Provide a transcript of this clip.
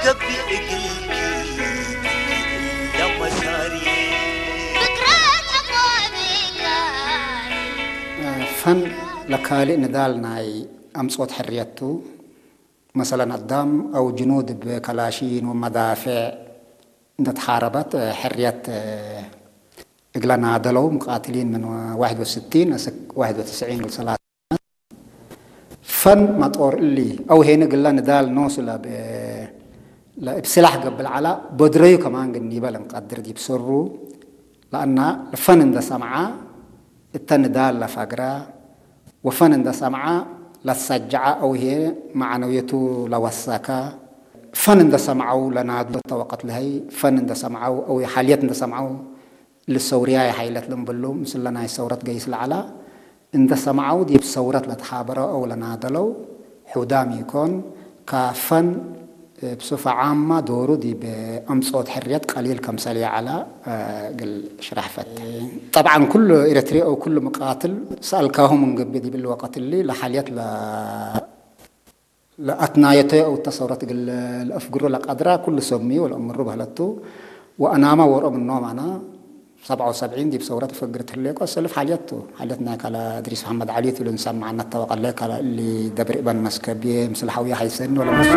ገቢእ እግልኪ ዳመሳሪ ፈን ለካልእ ንዳል ናይ ኣምጾት ሕርየቱ መሰለን ኣዳም ኣው ጅኑድ ብከላሺን ወመዳፍዕ እንደተሓረበት ሕርየት እግለ ናደለው ሙቃትሊን ምን ዋሕድ ወስቲን እስክ ዋሕድ ወትስዒን ልሰላት ፈን መጦር እሊ አው ሄነ ግላ ንዳል ኖስላ እብ ስላሕ ገብእ ለዐላ በድረዩ ከማን ግን ኒበ ለንቀድር ዲብ ሰሩ ለአና ፈን እንደ ሰምዓ እተ ንዳል ለፈግራ ወፈን እንደ ሰምዓ ለሰጅዓ አው ሄ መዓነውየቱ ለወሰካ ፈን እንደ ሰምዓው ለናዱ እተ ወቀት ለሀይ ፈን እንደ ሰምዓው አው ሓልየት እንደ ሰምዓው ልሰውርያይ ሓይለት ልምብሉ ምስለ ናይ ሰውረት ገይስ ለዐላ እንደ ሰምዓው ዲብ ሰውረት ለተሓበረ አው ለናደለው ሑዳም ኢኮን ካፈን ብሱፈ ዓማ ዶሩ ዲብ ኣምጾት ሕርየት ቀሊል ከምሰል የዐላ ግል ሽራሕ ፈት። ጠብዓን ኩሉ ኤረትሪ አው ኩሉ ምቃትል ሰአልካሁም እንግቢ ዲብል ወቀት እሊ ለሓልየት ለ ለአትናየተ አው ተሰውረት እግል ለአፍግሮ ለቀድራ ኩሉ ሰብሚ ወለአምሩ በህለቱ ወአናማ ወርኦ ምኖም አና ሰብዓ ወሰብዒን ዲብ ሰውረት ፈግር ትህሌኮ ሰልፍ ሓልየቱ ሓልየት ናይ ካላ እድሪስ መሐመድ ዓሊ ትብሉ ንሰምዓ እናተወቀለ ካላ እሊ ደብር እበን መስከብየ ምስል ሓውየ ሓይሰኒ ወለመሱ